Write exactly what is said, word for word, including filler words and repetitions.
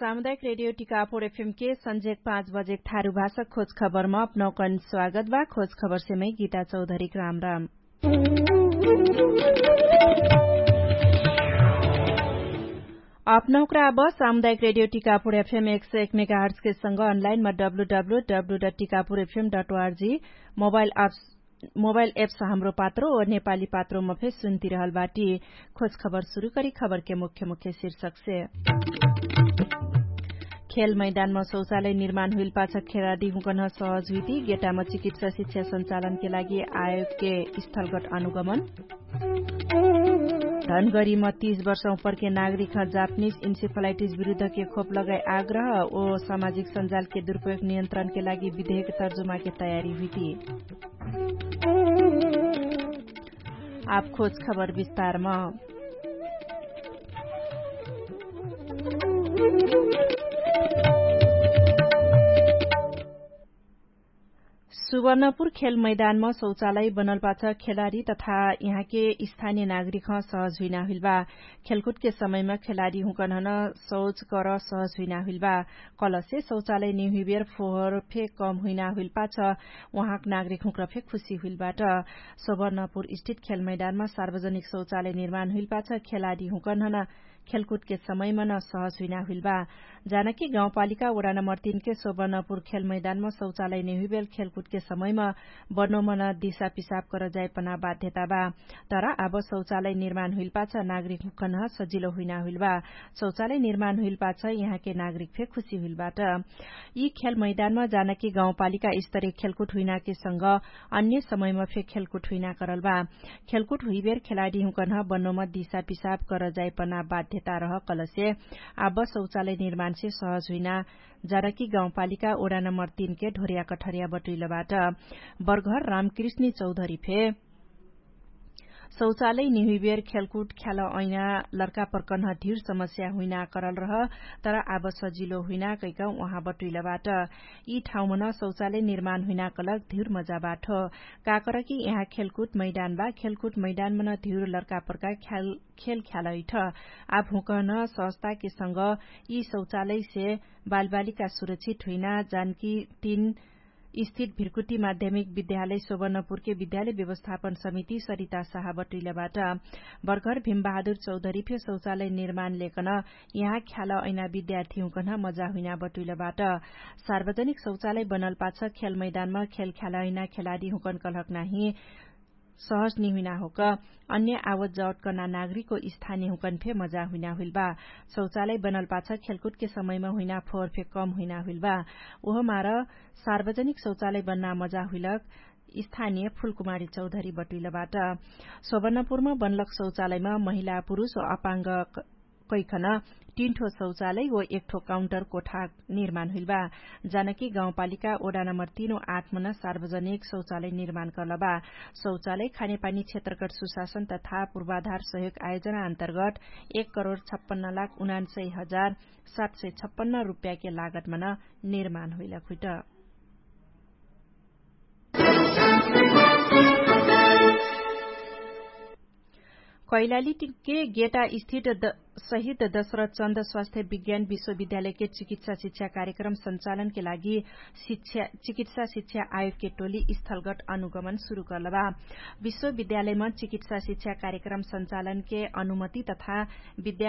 सामुदायिक रेडियो टिकापुर एफएम के सन्झेक पाँच बजेक थारु भाषा खोज खबरमा अपनौकन स्वागत बा। खोज खबरसे मै गीता चौधरीक राम राम। अपनौकरा अब सामुदायिक रेडियो टिकापुर एफएम एक सय एक मेगाहर्ट्सके संग अनलाइनमा W W W dot Tikapur FM dot ORG mobile apps mobile apps Hamro Patro ओ नेपाली पात्रोमा फे सुन्तिरहल बाटी। खोज खबर सुरु करी खबरके मुख्य मुख्य शीर्षकसे। खेल मैदानमा शौचालय निर्माण हुइल पाछ खेलाडी हुँकन सहज हुइती। गेटामा चिकित्सा शिक्षा सञ्चालनके लागि आयोगके स्थलगट अनुगमन। धनगरीमा तीस वर्ष उपरके नागरिक जापनिज इन्सेफलाइटिज विरुद्धके खोप लगाई आग्रह ओ सामाजिक सञ्जालके दुरुपयोग नियन्त्रणके लागि विधेयक तर्जुमाके तयारी हुइती। आप खोज खबर विस्तारमा। सुवर्णपुर खेल मैदानमा शौचालय बनल पाछ खेलाडी तथा यहाँके स्थानीय नागरिक सहज हुइना हुइल बा। खेलकुदके समयमा खेलाडी हुँकनहन शौच कर सहज हुइना हुइल बा। कलसे शौचालय निहुइबेर फोहर फे कम हुइना हुइल पाछ उहाँक नागरिक हुँक्र फे खुशी हुइल बाट। सुवर्णपुर स्थित खेल मैदानमा सार्वजनिक शौचालय निर्माण हुइल पाछ खेलाडी हुँकनहन खेलकुदके समयमा न सहज हुइना हुइल बा। जानकी गाउँपालिका ओडा नम्बर तीनके सुवर्णपुर खेल मैदानमा शौचालय निहुइबेर खेलकुदके समयमा बर्नोमन दिशा पिसाब कर जाइपना बाध्यता बा। तर आब शौचालय निर्माण हुइल पाछ नागरिक हुँकन सजिलो हुइना हुइल बा। शौचालय निर्माण हुइल पाछ यहाँके नागरिक फे खुशी हुइल बाट। यी खेल मैदानमा जानकी गाउँपालिका स्तरीय खेलकुट हुइनाके संग अन्य समयमा फे खेलकुट हुइना करल बा। खेलकुट हुइबेर खेलाडी हुँकन बन्नोमा दिशा पिसाब कर जाइपना बाध्यता रह कलसे आब शौचालय निर्माणसे सहज हुइना। जानकी गाउँपालिका ओडा नम्बर तीनके ढोर्या कठर्या बटुइल बाट। बर्घर रामकृष्णी चौधरी फे शौचालय निहुइबेर खेलकुट ख्याल ऐना लर्का पर्कन्ह धिर समस्या हुइना करल रह। तर आब सजिलो हुइना कैक उहाँ बटुइल बाट। यी ठाउँमन शौचालय निर्माण हुइना कलक धिर मजा बाट। काकर कि यहाँ खेलकुट मैदान बा खेलकुट मैदानमन धिर लर्का पर्का खेल ख्याल ऐठ। आब हुँकन संस्थाके संग यी शौचालयसे बालबालिका सुरक्षित हुइना जानकी तीन स्थित भिर्कुटी माध्यमिक विद्यालय सोबर्णपुरके विद्यालय व्यवस्थापन समिति सरिता साहा बटुइलबाट। बर्घर भिमबहादुर चौधरी फे शौचालय निर्माण लेकन यहाँ ख्याल ऐना विद्यार्थी हुँकन मजा हुइना बटुइलबाट। सार्वजनिक शौचालय बनल पाछ खेल मैदानमा खेल ख्याल ऐना खेलाडी हुँकन कलहक नाही सहज निहुइना होक अन्य आवत जावत कर्ना नागरिकको स्थानीय हुँकन फे मजा हुइना हुइल बा। शौचालय बनल पाछ खेलकुटके समयमा हुइना फोहर फे कम हुइना हुइल बा। उहमार सार्वजनिक शौचालय बन्ना मजा हुइलक स्थानीय फुलकुमारी चौधरी बटुइलबाट। सोबर्णपुरमा बनलक शौचालयमा महिला पुरुष अपाङ्ग कैखन तीन ठो शौचालय व एक ठो काउन्टर कोठा निर्माण हुइल बा। जानकी गाउँपालिका ओडा नम्बर तीन व आठ मन सार्वजनिक शौचालय निर्माण कर्ल बा। शौचालय खानेपानी क्षेत्रगट सुशासन तथा पूर्वाधार सहयोग आयोजना अन्तर्गट एक करोड छप्पन्न लाख उनान्सय हजार सात सय छप्पन्न रुप्याके लागत मन निर्माण हुइल खुइट। कैलाली टिके गेटा स्थित शहीद दशरथ चन्द स्वास्थ्य विज्ञान विश्वविद्यालयके चिकित्सा शिक्षा कार्यक्रम सञ्चालनके लागि चिकित्सा शिक्षा आयोगके टोली स्थलगट अनुगमन सुरु कर्लबा। विश्वविद्यालयमा चिकित्सा शिक्षा कार्यक्रम सञ्चालनके अनुमति तथा विद्या